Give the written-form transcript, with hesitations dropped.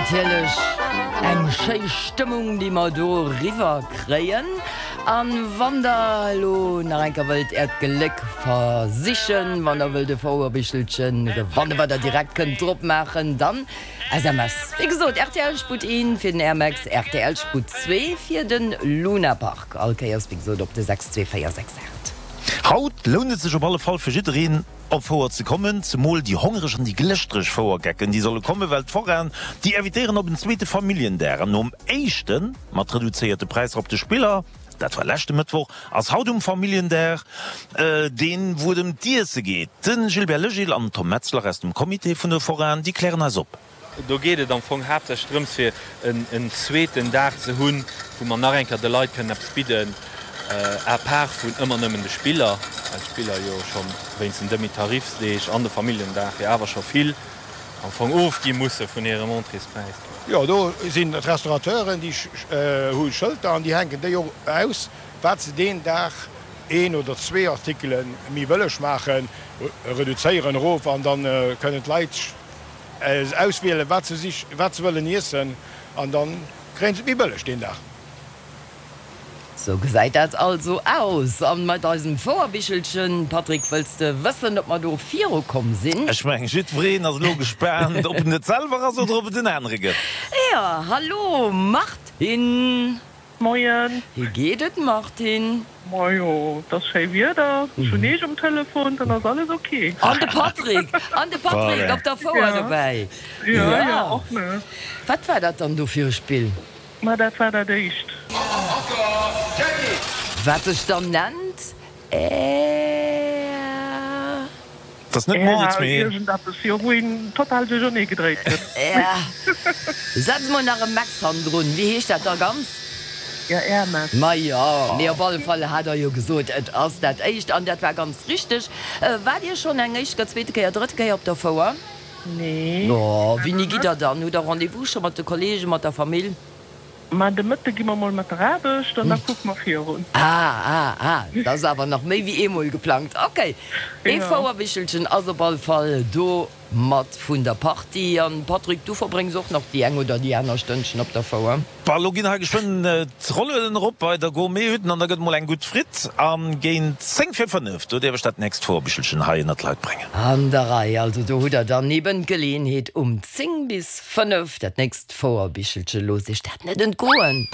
Natierlech eng schéi Stëmmung, déi mer do eriwwer kréien. An wann der elo nach eng Kéier wëllt äert Gléck versichen, wann der wëllt e Fouerbichelchen gewannen, wat der direkt kënnt drop maachen, dann SMS. Wéi gesot, rtl Sputt 1 fir den Airmax, rtl Sputt 2 fir de Luna Park. All Kéiers, wéi gesot, op de 62468. Haut lount et sech op alle Fall fir jiddereen op Fouer ze kommen, zemol déi hongereg an déi glëschtereg Fouergecken, déi solle kommen, well d'Foraen déi invitéieren op en zweete Familljendag an nom éischte mat reduzéierte Präisser op de Spiller, dat war leschte Mëttwoch, ass haut um Familljendag deen, wou et ëm d'Iesse geet. De Gilbert Legil an den Tom Metzler aus dem Comité vun de Foraen, déi klären eis op. Do geet et am Fong haaptsächlech drëms, fir en zweeten Dag ze hunn, wou mer nach eng Kéier de Leit kënnen eppes bidden, à part vun ëmmer nëmmen de Spiller, well d'Spiller jo scho wéinst den Demi-Tarifsdeeg an de Familljendag jo awer scho vill am Fong ofgi musse vun hirem Entréespräis. Jo, do sinn d'Restaurateuren, déi hu Schëlter an déi hänken déi och aus, wat se deen Dag een oder zwee Artikele méi bëlleg maachen, reduzéieren erof an da kënnen d'Leit auswielen, wat se sich, wat se wëllen iessen an da kréien se et méi bëlleg deen Dag. Sou gesäit dat also aus. An mat eisem Fouerbichelchen, Patrick, wëlls de wëssen, ob mer do viru komm sinn? Ech mengen, jiddwereen ass elo gespaant, ob en et selwer ass oder ob et en anere gëtt. Jo, hallo Martine! Moien! Wéi geet et Martine? Majo, et ass schéi Wieder, ech hunn Eech um Telefon, dann ass alles ok. An de Patrick! An de Patrick op der Fouer dobäi! Jo, jo, och ne. Wat war dat dann do fir e Spill? Ma dat war dat éischt. Wat sech dann nennt Air. Dat ass net Moritz, mee. Iergendeppes, jo, wou een total duerchernee gedréit gëtt. Air. Setz mol nach e Max hannendrun. Wéi heescht dat da ganz? Jo, Air Max. Ma jo, mee op alle Fall hat Der jo gesot, et ass dat éischt. An dat war ganz richteg. Waart Dir schonn eng éischt, zweete Kéier, drëtte Kéier op der Fouer? Nee. Oh, wéini gitt der dann? Hutt der Rendez-vous scho mat de Kollegen, mat der Famill? Ma de Mëtte gi mer mol mat der Aarbecht an da kucke mer virun. Ah, ah, ah, dat ass awer nach méi wéi eemol geplangt. Ok, ee Fouerbichelchen ass op all Fall do mat vun der Partie. An Patrick, du verbréngs och nach déi eng oder déi aner Stënnchen op der Fouer? Bah, lo ginn hei geschwënn d'Rollueden erop bei der Gourmet-Hütten an da gëtt mol eng gutt Fritt. An géint 10 vir 5, do dierf ech dat nächst Fouerbichelchen hei ënnert d'Leit bréngen. An der Rei, also do hutt der dann eben d'Geleeënheet um 10 bis 5 dat nächst Fouerbichelchen. Loosst iech dat net entgoen!